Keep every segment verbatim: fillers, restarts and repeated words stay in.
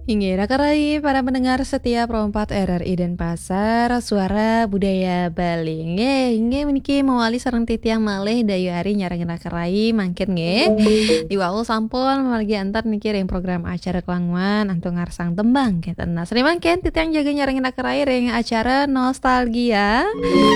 Inggih, raka rai para pendengar setia Pro empat R R I Denpasar, Suara Budaya Bali. Inggih, inggih meniki mawali sareng titiang malih Dayu Ari nyarengin raka rai mangkin nggih. Diwau sampun margi antar niki ring program acara Klanguan antuk ngarsang tembang kenten. Nah, sane mangkin titiang jaga nyarengin raka rai ring acara Nostalgia.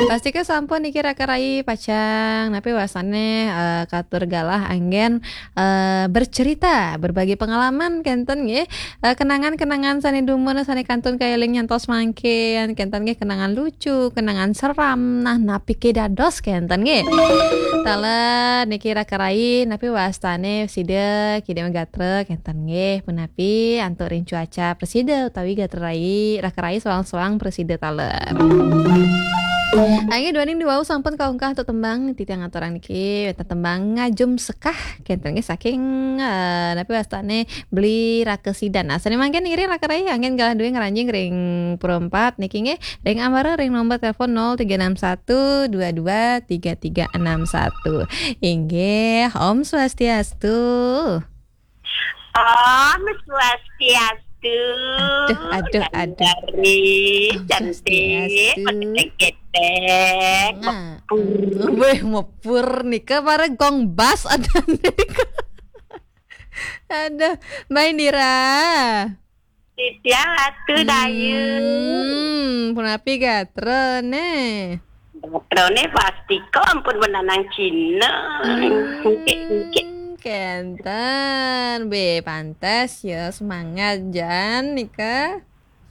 Pastika sampun niki raka rai pacang napi wasane, eh, katur galah anggen eh, bercerita, berbagi pengalaman kenten nggih. Eh, kenangan-kenangan sane dumun sane kantun kaeling nyantos mangkin, kenten nggih, kenangan lucu, kenangan seram. Nah, napi ke dados kenten nggih. Taler niki raka rai napi wastane sida kidang gatra kenten nggih. Punapi antuk ring cuaca prasida utawi gatra rai, raka rai soang-soang prasida taler. Inggih duaning diwau sampun kaungkah antuk tembang titiang aturang niki, wenten tembang Ngajum Sekah kenten nggih saking, eh, napi wastane Beli Raka Sidan. Nah, sane mangkin ngiring raka rai anggen galah duwe ngranjing ring Pro empat niki nggih, ring ambara ring nomor telepon nol tiga enam satu dua dua tiga tiga enam satu. Inggih, Om Swastiastu. Om Swastiastu. Aduh, aduh, aduh. Dari Om cantik, Swastiastu. Ketek-ketek, nah. Mepur. Weh, mepur nika para gong bas ada nika. Aduh, Mbak Indira. Titiang Ratu Dayu. Hmm, punapi gatra ne? Gatrane pasti kok ampun menanang Cina. Hmm, engke, engke. Kenten, be pantes ya semangat jan nika.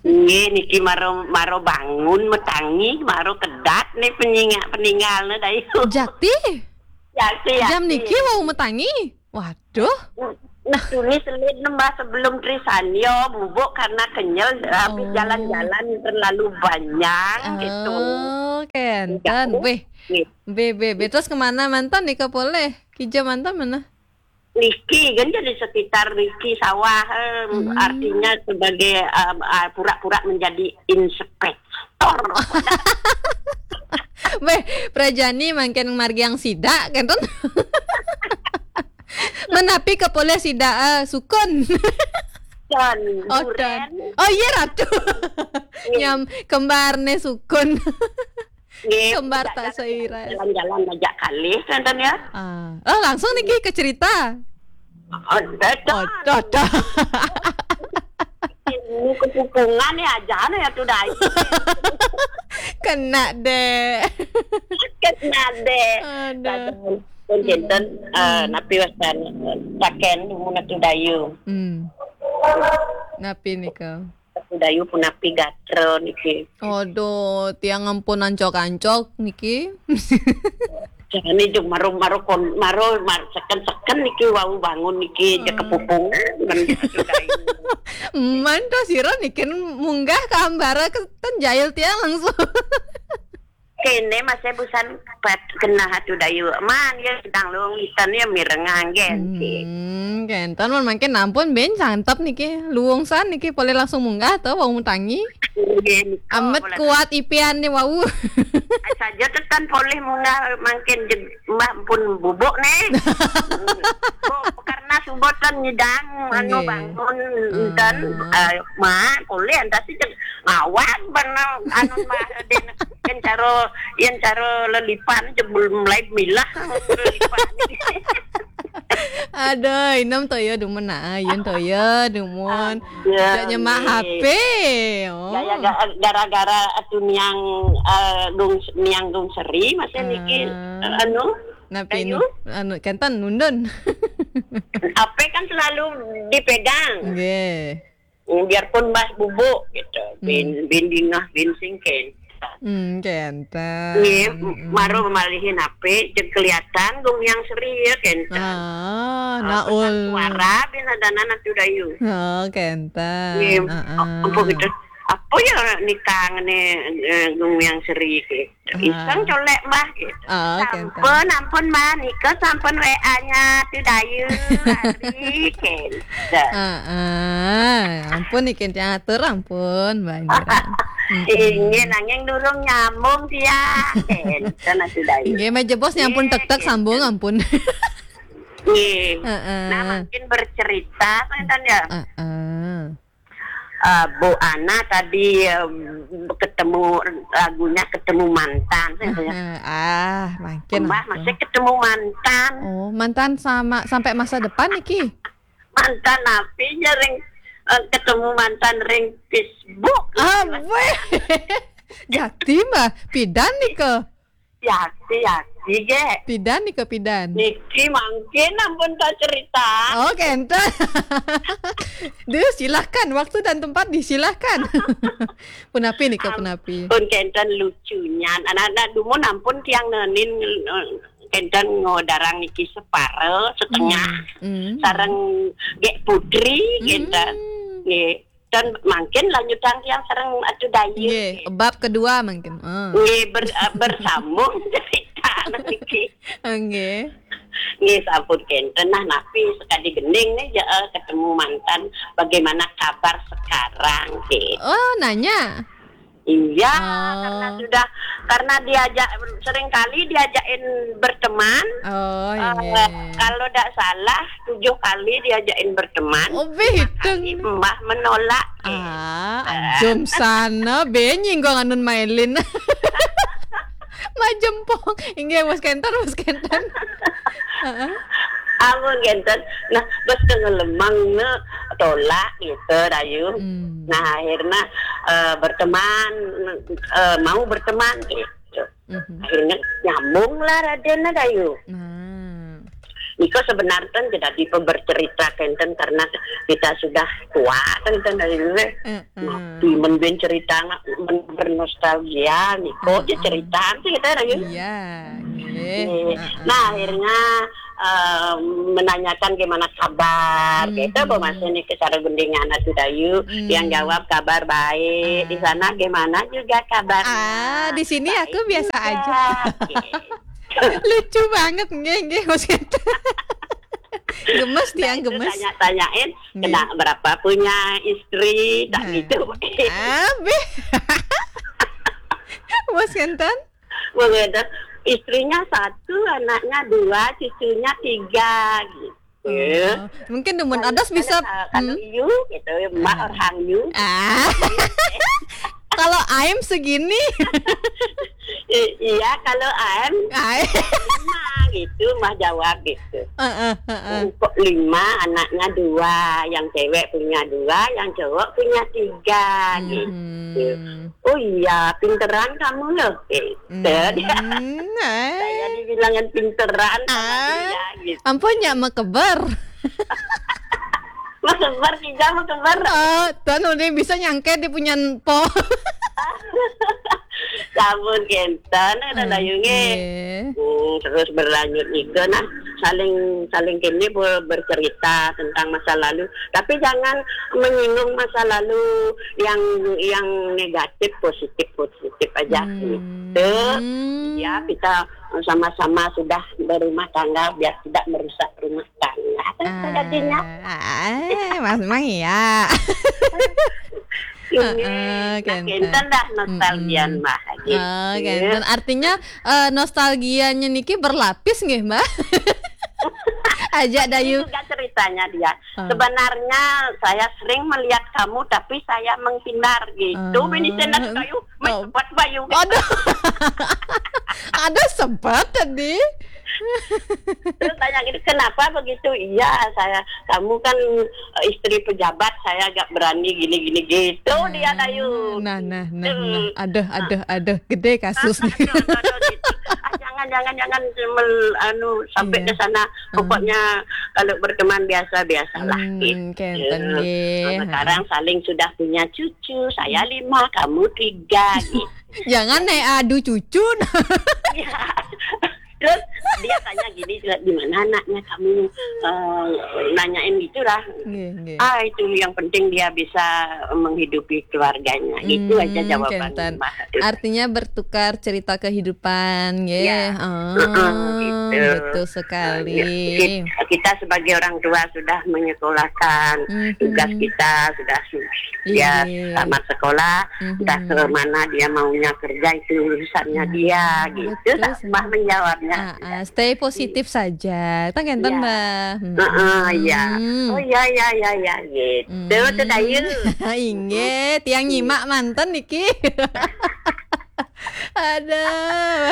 Nggih, niki maro, maro bangun metangi, maro kedat nih peninga-, peningalne Dayu. Jakti? Jakti, jakti. Jam niki wau metangi? Waduh. Nah, tuni selit nembah sebelum Trisanyo, bubuk karena kenyal, habis jalan-jalan terlalu banyak gitu. Oh, kenten. Weh. Nggih. Be, be, be. Terus kemana mantan nika poleh? Kija mantan mana? Niki kan jadi sekitar niki sawah, eh, hmm, artinya sebagai, eh, eh, pura-pura menjadi inspektor. Weh, prajani mangkin margiang sida, kenten. Menapi ke poleh sida, eh, sukun. Don, oh, duren. Don. Oh, iya, Ratu. Iya. Nyam, kembar ne sukun. Nggih, kembar tak seiras. Jalan-jalan aja kalih, kenten ya. Ah. Oh, langsung niki ke cerita. Oh, dah, dah. Oh, dah, dah. Ilmu kepupungan ya, aja ya tuh, Dayu. Kena deh. Kena deh. Aduh. Pun kenten, eh, napi wastan, taken dumun Ratu Dayu. Hmm. Napi nika? Ratu Dayu punapi gatra niki. Aduh, tiang ampun ancok-ancok niki. Jangan nih, jeng maro, maro kon-, maro, mar-, seken-seken niki wau bangun niki, hmm, jeg kepupungan, men Ratu Dayu. Man to sira niki munggah ka ambara kenten jail tiang langsung. Kene masih busan pat kenah Ratu Dayu. Man, ya sedang luung iten ya mireng anggen, sih. Hmm, kenten man mangkin ampun ben santep niki. Luung san niki poleh langsung munggah to wau metangi. Nggih, nika amet poleh kuat ipian ni wau. Ai saja tetan poleh munggah mangkin jeg mbah pun bubuk ne. Bu, karena subotan nyidang anu nggih. Bangun dan, ah, eh, mak poleh antas jeg ngawag bana anu mah den yen cara, yen cara lelipan jebul mulai milah lelipan. Aduh, inem toya dumun nah, yen toya dumun. Aduh, nyemak nggih. H P. Oh. Gaya ga-, gara-gara atu niang, eh, Gung, niang Gung Seri masih niki, ah, eh, anu, napi kayu? Nu-, anu, kenten nundun. H P kan selalu dipegang. Nggih. Hmm, biarpun mbah bubuk gitu. Bin, hmm, bin dingah, bin singken. Hmm, kenten. Nggih, hmm, maro malihin H P, jeg kelihatan Gung Hyang Seri ya, kenten. Ah, ah, naul. Pesan suara bin adanan Ratu Dayu. Oh, kenten. Nggih, ah, ah. Apa gitu? Apa ya nikah ne, eh, Gung Hyang Seri gitu. Ah. Iseng colek, Mbah, gitu. Ah, oke, sampun, ampun, Mbah, nika sampun W A-nya Ratu Dayu, Ari, gitu. Ah, ah. Ampun, niki atur, ampun, Mbah Indira. Mm-mm. Inggih, nanging durung nyambung dia, gitu, Ratu Dayu. Inggih, meja bos nyampun tek-tek, gitu. Sambung, ampun. Nggih. Heeh. Nah, mungkin bercerita, kan, ya. Heeh. Eh, Bu Ana tadi, eh, ketemu, lagunya Ketemu Mantan, kan, ya. Heeh. Ah, mungkin Mbah aku. Masih ketemu mantan. Oh, mantan sama, sampai masa depan niki? Mantan api, ring, eh, ketemu mantan ring Facebook. Ah, weh. Jadi, Mbah, pidan nika? Yati, yati, ge. Pidan nika, pidan? Niki mangkin ampun tak cerita. Oh, kenten. Duh, silahkan. Waktu dan tempat disilahkan. Punapi nika, punapi? Ampun, kenten lucunya. Anak-anak dumun ampun tiang nenin, eh, kenten ngodarang niki separo, setengah. Hmm, hmm. Sareng Gek Putri, kenten. Hmm. Nggih. Dan mangkin lanjutang tiang sareng Atu Dayu. Nggih, bab kedua mangkin. Ah. Nggih, ber-, eh, bersambung cerita niki. Nggih. Nggih, sampun kenten. Nah, napi sekali gending nih, ya, eh, ketemu mantan. Bagaimana kabar sekarang, gitu. Oh, nanya? Iya, oh. Karena sudah, karena diajak, seringkali diajakin berteman. Oh, eh, iya. Kalau tidak salah, tujuh kali diajakin berteman. Oh, lima kali Mbah menolak. Ah, eh. Anjum sana, be nyinggung anun mailin. Majempong. Inggih, Mas Kenten, Mas Kenten. Heeh. Amun kenten. Nah, bos tengah lemang ne tolak gitu, Dayu. Hmm. Nah, akhirnya, eh, berteman, eh, mau berteman gitu. Mhm. Akhirnya nyambung lah Raden, Dayu. Nah. Niko sebenarnya tidak dipe bercerita kenten karena kita sudah tua kenten, Dayu, eh. Heeh. Nah, men ben cerita nggak, men bernostalgia, niko aja cerita sih kita, Dayu. Iya, nggih. Nggih. Heeh. Nah, akhirnya, eh, menanyakan gimana kabar. Hmm. Gitu, Bu, masih nih ke sareng gending anak Dayu. Hmm. Yang jawab kabar baik. Ah. Di sana gimana juga kabarnya? Ah, di sini aku baik biasa juga, aja. Gitu. Lucu banget, nggih, nggih, Mas Kenten. Gemes. Nah, tiang itu gemes. Tanya-tanyain, nggih. Kena berapa punya istri, tak gitu. Nah. Abih. Mas Kenten? Begitu. Istrinya satu, anaknya dua, cucunya tiga, gitu. Oh, mungkin demen kalau, adas bisa, kalau, kalau hmm. You, gitu, Mbak, ah. Orang you. Ah. Kalau I'm segini. I-, iya, kalau I'm, ah. Lima, gitu, Mbah jawab, gitu. Heeh, heeh. Kok lima, anaknya dua, yang cewek punya dua, yang cowok punya tiga, gitu. Hmm. Oh iya, pinteran kamu loh, gitu. Hmm, eh. Saya dibilangin pinteran sama dia, gitu. Ampun, nya mekeber. Mekeber, tiga mekeber. Oh, tuan udah bisa nyangke dia punya po. Sampun kenten, ada, hmm, Dayu nggih. Nggih. Hmm, terus berlanjut juga, nah, saling, saling kene ber-, bercerita tentang masa lalu. Tapi jangan menyinggung masa lalu yang, yang negatif, positif, positif aja, hmm, gitu. Ya, kita sama-sama sudah berumah tangga, biar tidak merusak rumah tangga. Apa jadinya? Ah, ah, Mas Mang, iya. Ini, heeh, nah, kenten. Kenten dah nostalgia, mm-mm, Mbah, gitu. Oh, kenten. Artinya, eh, nostalgianya niki berlapis nggih, Mbah? Aja, Dayu. Ini juga ceritanya dia. Oh. Sebenarnya saya sering melihat kamu, tapi saya menghindar gitu. Oh. Bini saya nak kayu, oh. Main sempat bayu. Aduh. Ada sempat tadi. Terus tanya gini, "Kenapa begitu?" "Iya, saya, kamu kan, eh, istri pejabat, saya agak berani gini, gini, gitu." Ah, dia, Dayu. Nah, nah, nah, hmm, nah. Aduh, aduh, aduh, gede kasus nih. Aduh, aduh, aduh, gitu. Ah, jangan, jangan, jangan, mel-, anu, sampai, iya, ke sana. Hmm. Pokoknya kalau berteman biasa-biasalah, hmm, gitu. Kenten, nggih. Nah, sekarang saling sudah punya cucu, saya lima, kamu tiga, gitu. Jangan, eh, adu cucu. Iya. Terus dia tanya gini, "Di mana anaknya kamu?" Eh, nanyain gitulah. Nggih, nggih. Ah, itu yang penting dia bisa menghidupi keluarganya. Itu aja, hmm, jawaban, kenten. Mbah. Artinya bertukar cerita kehidupan, nggih. Ya. Oh, heeh, gitu. Betul sekali. Ya, kit-, kita sebagai orang tua sudah menyekolahkan, mhm, tugas kita sudah su-, dia, iya, tamat sekolah, mhm, entah ke mana dia maunya kerja, itu urusannya, hmm, dia, gitu. Betul, Mbah menjawabnya. Ah, ah. Stay positif saja. Tah kenten, Ya. Mbah. Hmm. Heeh, ya. Hmm. Oh ya ya ya ya gitu. Tuh Dayu. Inggih, tiang nyimak manten niki. Ada,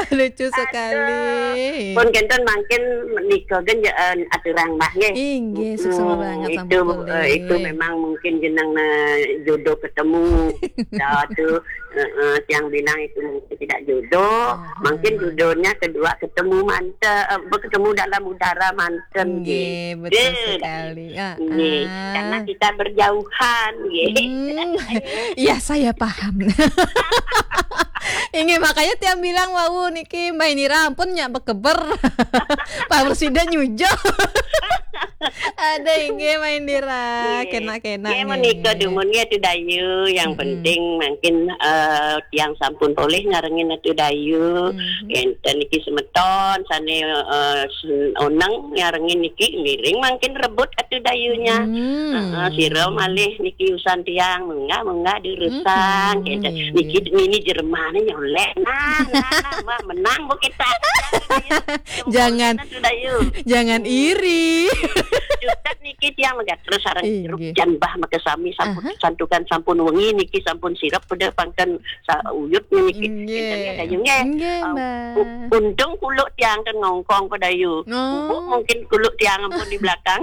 lucu sekali. Pun kenten mangkin nika gen ya, eh, aturang Mbah nggih. Inggih, suksma Hmm, banget itu sampun boleh. Eh, itu memang mungkin jeneng eh, jodoh ketemu. Ya tuh eh, eh, tiang bilang itu mungkin tidak jodoh. Aha. Mungkin jodohnya kedua ketemu manten, eh, ketemu dalam udara manten Inggih, gitu. betul Gitu. sekali. Ah, Nggih, ah. karena kita berjauhan nggih. Hmm, ya saya paham. Inggih, makanya tiang bilang wau niki Mbah Indira ampun nyak bekeber. Pak Presiden nyujo. Ada inggih Mbah Indira, Nggih. kena-kena Ya nggih. menika dumun ya Atu Dayu, yang Mm-mm. penting mungkin eh, tiang sampun polih ngarengin Atu Dayu. Mhm. Enten niki semeton sane eh, sen- oneng ngarengin niki miring mangkin rebut Atu Dayunya. Hmm. Heeh, sira malih niki usan tiang munggah-munggah durusang. Mhm, Enten nggih, niki nini jeremane nyolek. Nah, nah, nah, wah, menang bu kita. Jangan. Atu Dayu. Jangan iri. Jutet niki tiang megat terus sareng Inggih. jeruk jan Mbah maka sami sampun Aha. santukan sampun wengi niki sampun sirep peda pangken sa uyut niki. Inggih. Enten ya Dayu nggih. Inggih, Ah, Mbah. u- untung kuluk tiang kan ngongkong Atu Dayu. Oh. Bubuk mungkin kuluk tiang ampun di belakang.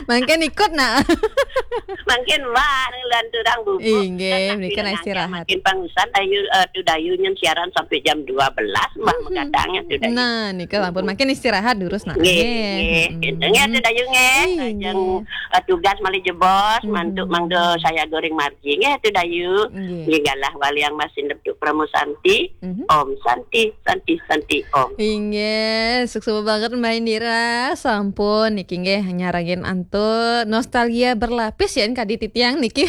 Mangkin ikut nak. Mungkin wah lanturang bubuk. Inggih, Kan menika nak istirahat. Mungkin pangusan Dayu eh, Atu Dayu nyen siaran sampai jam dua belas Mbah Mhm. Megadang ya Atu Dayu. Nah, nika sampun mangkin istirahat durus nak. Nggih, Nggih. nggih. Mm-mm. Nggih Atu Dayu nggih. Inggih. Lajeng eh, tugas malih jebos Mhm. mantuk mangda saya goreng margi nggih Atu Dayu. Nggih. Nggih galah waliang masih neptuk Pramu Santi. Mhm. Om Santi, Santi, Santi Om. Inggih, suksma banget Mbah Indira. Sampun niki nggih nyarengin antuk nostalgia berlapis ya kadi titiang niki.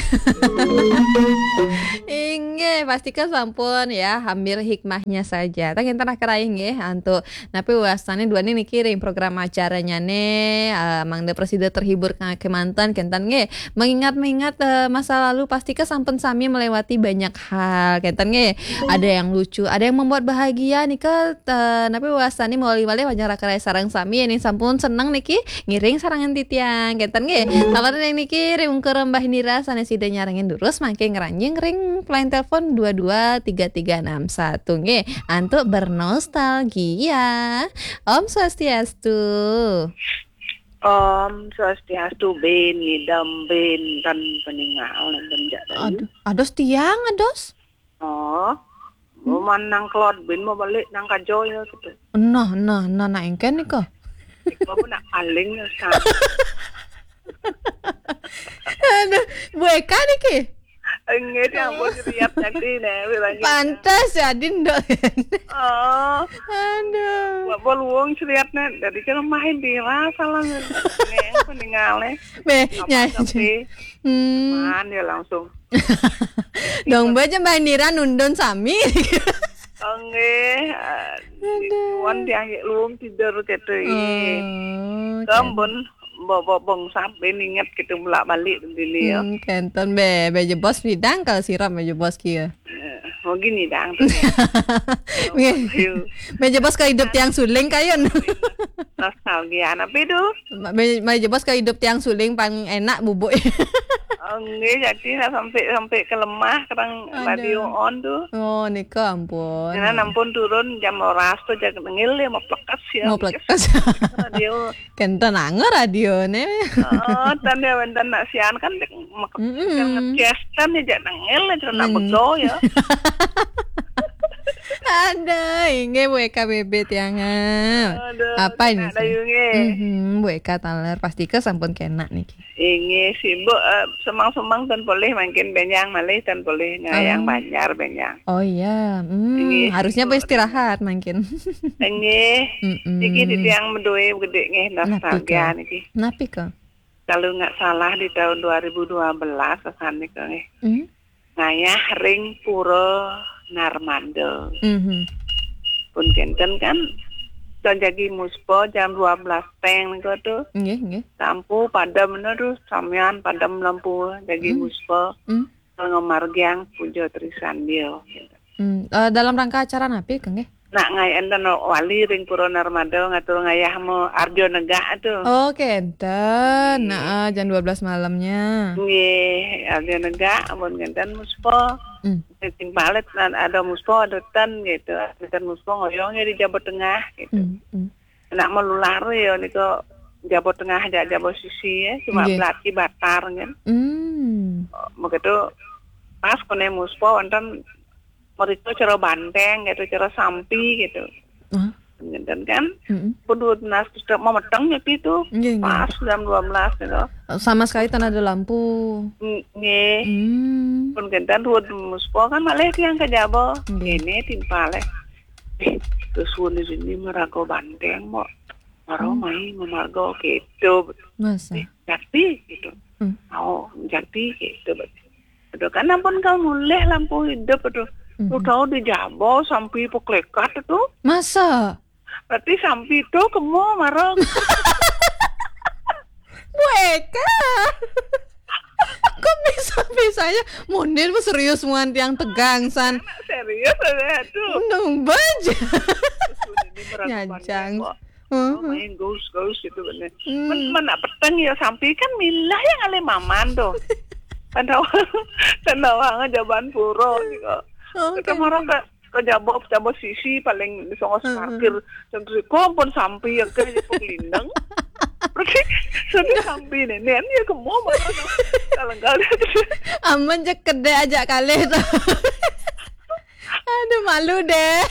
Inggih, pastika sampun ya ambil hikmahnya saja. Tah kinten keraih nggih antuk napi wastane duaning niki ring program acaranyane eh, mangda prasida terhibur ka- kemanten kenten nggih. Mengingat-mengingat eh, masa lalu pastika sampun sami melewati banyak hal kenten nggih. Ada yang lucu, ada yang membuat bahagia nika eh, napi wastane malih-malih wajah raka rai sareng sami yen sampun seneng niki ngiring sarengan titiang kenten nggih. Tawaran yang niki ring ungkur Mbah Indira sane sida nyarengin durus mangke ngranjing ring line telepon dua dua tiga tiga enam satu nggih. Antuk bernostalgia. Om Swastiastu. Om Swastiastu bin idam bin tan peningal dan jak tadi. Aduh, ados tiang, ados. Oh, mau manang kelod bin mau balik nang kajo ya gitu. Nah, nah, nah, nah engken nika. Mau nak paling ya sa. Aduh, Bu Eka niki. Enggak dia mau seriap tadi nih, bilangnya. Pantes ya, Din, dok. Oh, Aduh. buat bol wong seriap nih. Dari kan main di salah nih. Nih, peningal nih. Be, Apa ya. tapi Hmm. Man ya langsung. Dong baca Mbak Indira nundun sami. Enggak, Aduh. Wan tiang luwung tidur gitu. Oh, Kembon bawa bong sampai inget gitu mulak balik dulu ya. Hmm, kenten be, be jebos bidang kalau sirap be jebos kia. Eh, Mau gini dang. Nggih. Ayo, Be jebos ke hidup tiang suling kayun. Nostalgia apa itu? Be, be jebos ke hidup tiang suling paling enak bubuk. Oh, enggak jadi lah sampai sampai ke lemah kadang Aduh. Radio on tuh. Oh, nika ampun. Karena nampun turun jam rolas tuh jaga tengil dia mau plekas ya. Mau plekas. Radio. Kenten anggo radione. Oh, tanda wenten nak sian kan dek mek- Mm-mm. kan ngecas kan dia jak tengil itu nak Neng- bego ya. Ada, inggih Bu Eka bebet tiang. Aduh, Apa ini nak sih? Dayu nggih. Mhm, Bu Eka taler pasti ke sampun kena niki. Inggih sibuk eh, semang-semang tan boleh makin benyang malih tan boleh ngayang Oh. Banjar benyang. Oh iya, hmm, Inggih, harusnya sibuk. Istirahat mungkin. Inggih. Mm-mm. Niki di tiang medue gede nggih Napi nostalgia ke? Niki. Napi ke? Kalau nggak salah di tahun dua ribu dua belas kesan nika nggih. Hmm? Ngayah ring pura Narmada. Mhm. Pun kenten kan dan jagi muspa jam dua belas teng nika tuh. Nggih, nggih. Sampu padam bener tuh samian padam lampu jagi Hmm. Muspa. Hmm. Ngamargiang puja trisandia. Hmm. Eh, dalam rangka acara napi ke nggih? Nak ngai enten wali ring Pura Narmada ngatur ngayah mo Arjo Negak tu. Oh, kenten. Nah, jam dua belas malamnya. Nggih, Arjo Negak, ampun kenten muspa. Hmm. Sing palit, nah, ada muspa, ada ten gitu. Ten muspa ngoyong ya di Jaba Tengah gitu. Hmm, hmm. Nak melular ya nika Jaba Tengah aja, Jaba Sisi ya, cuma Nggih. Belati Batar kan. Hmm. Begitu pas kone muspa wonten mereka cara banteng gitu, cara sampi gitu. Hah? Ngenten kan? Mm-mm. Pun dua belas sudah memeteng nyepi tu. Nggih, nggih. Pas jam dua belas gitu. Sama sekali tan ada lampu. Ng-, nggih. Hmm. Pun kenten dua muspa kan malih tiang ke Jaba. Nggih. Ini timpal eh. Eh, terus wuni sini meraga banteng mo. Maro Hmm. mai memarga gitu. Masa? Eh, jati gitu. Hmm. Oh, jati gitu. Aduh, kan ampun kau mulih lampu hidup, aduh. Hmm. Lu tahu di Jaba sampi peklekat tu. Masa? Berarti sampi tu kemo marang. Bu Eka. Kok bisa-bisanya munir bu serius muan tiang tegang san. Serius ada tu. Nung baja. Ini meragukan Nyajang. Kok. Heeh. Oh, main ghost-ghost gitu bener. Hmm. Men, men nak peteng ya sampi kan milah yang ale maman tu. Kan tahu, kan tahu aja ban pura ni kok. Oh, kita kan. Marah ke, ke Jaba, Jaba Sisi paling di Songo Heeh. Parkir. Jam tu kok pun sampi ya ke di Pekelindang. Berarti sudah sampi ni. Ni ya kemo mana tu. Kalau enggak dia tu. Aman je kedai aja kalih tu. Aduh, malu deh.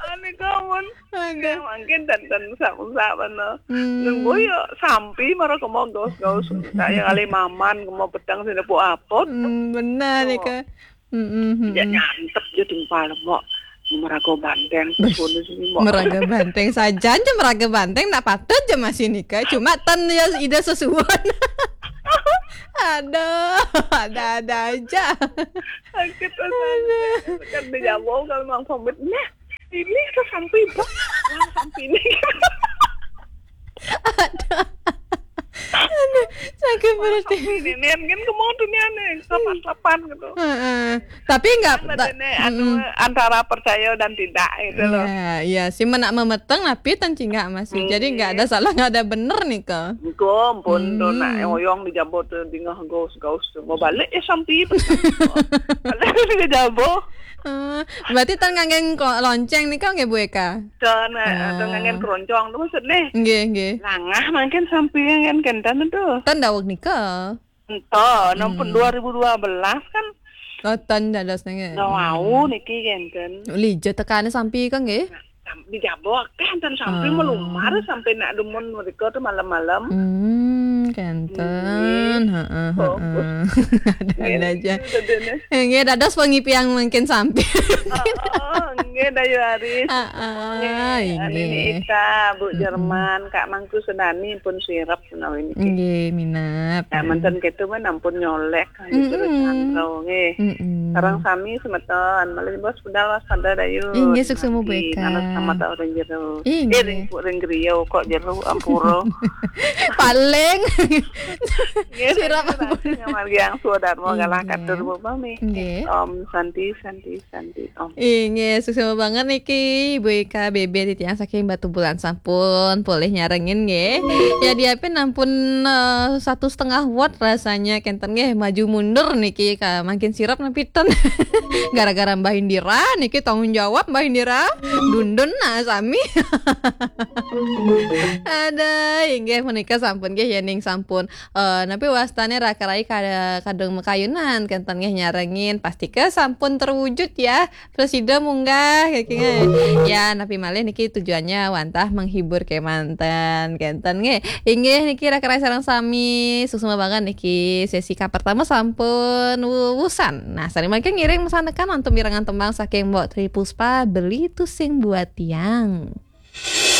Ane kawan. Aduh. Mungkin dan dan usap-usap mana. Hmm. Nunggu ya sampi mara kemo ghost-ghost. Saya kali maman kemo petang sini pu apot. Hmm, benar ni Oh. Ka. Hmm, hmm, hmm, Ya hmm. Nyantep je timpal mo. Meraga banteng Bes, terus sini mo. Meraga banteng saja je meraga banteng nak patut je masih nikah. Cuma tan ya ida sesuon. Aduh, ada-ada aja. Sakit rasanya. Kan dia jawab kalau mang pamit. Nah, ini tu sampai bang. Yang sampai ni. Aduh. Aduh, sakit perut. Sampai ni, ni kan kemau dunia ni. Lapan-lapan gitu. Heeh. Tapi enggak Kan ta- ada ni, anu, Mm-mm. antara percaya dan tidak gitu loh. Ya, ya. Si menak memeteng tapi tan cingak masih. Jadi enggak ada salah, enggak ada bener nih ke. Engko ampun tu nak Hmm. oyong di Jaba tu dingah gaus-gaus tu. Mau balik ya sampi. Balik di Jaba. Eh, berarti tan nganggen ko-, lonceng ni kan nggih Bu Eka? Tan, eh, Ah. tan nganggen keroncong tu maksud ni. Nggih, nggih. Langah mungkin sampi kan kenten tu. Tan daweg nika. Ento, nampun Hmm. dua ribu dua belas kan. Oh, tan dados nggih. Dah wau Hmm. niki kenten. Lija tekane sampi kan nggih? Sam-, di Jaba akeh enten sampi Ah. melumar sampai nak demun mereka tu malam-malam. Hmm, kenten. Nggih. Heeh, Oh. heeh. Ada-ada Nggih, aja. itu dia ni. Nggih, dados pengipiang mungkin sampi. Oh, oh, nggih, Dayu Aris. Heeh, Nggih, Ani nggih. Ita, Bu Mm-mm. Jerman, Kak Mangku Senani pun sirep menawi niki. Nggih, minap. Ya, menten ketu men ampun nyolek, gitu, Mm-mm. Chandra, nggih. Mm-mm. Sareng sami semeton, malih bos budal waspada Dayu. Inggih, suksma Bu Eka. Nana sama tau ring jero. Inggih. Eh, ring, ring griya kok jero, ampura. Paling. Nggih, sirep sampun ampun. Ngamargiang swadarma galah Inggih. Katur Bu Mami. Nggih. Om Santi, Santi, Santi, Om. Inggih, suksma banget niki Ibu Eka B B titiang saking Batubulan sampun polih nyarengin nggih. Ya, diapin ampun, eh, satu setengah watt rasanya kenten nggih, maju mundur niki ka mangkin sirep napi ten. Gara-gara Mbah Indira niki tanggung jawab Mbah Indira. Dundun nah sami. Ada, inggih menika sampun nggih yening sampun, eh, napi wastane raka-raka kada-, kadung makayunan kenten nggih nyarengin, pastika sampun terwujud ya. Prasida munggah, kaki nggih. Ya, napi malih niki tujuannya wantah menghibur kemanten, kenten nggih. Inggih niki raka-raka sareng sami, suksma banget niki sesi ka pertama sampun wusan. Nah, sari mangke ngiring mesanekan wonten wirengan tembang saking Mbok Tri Puspa, Beli Tusing Buat Tiang.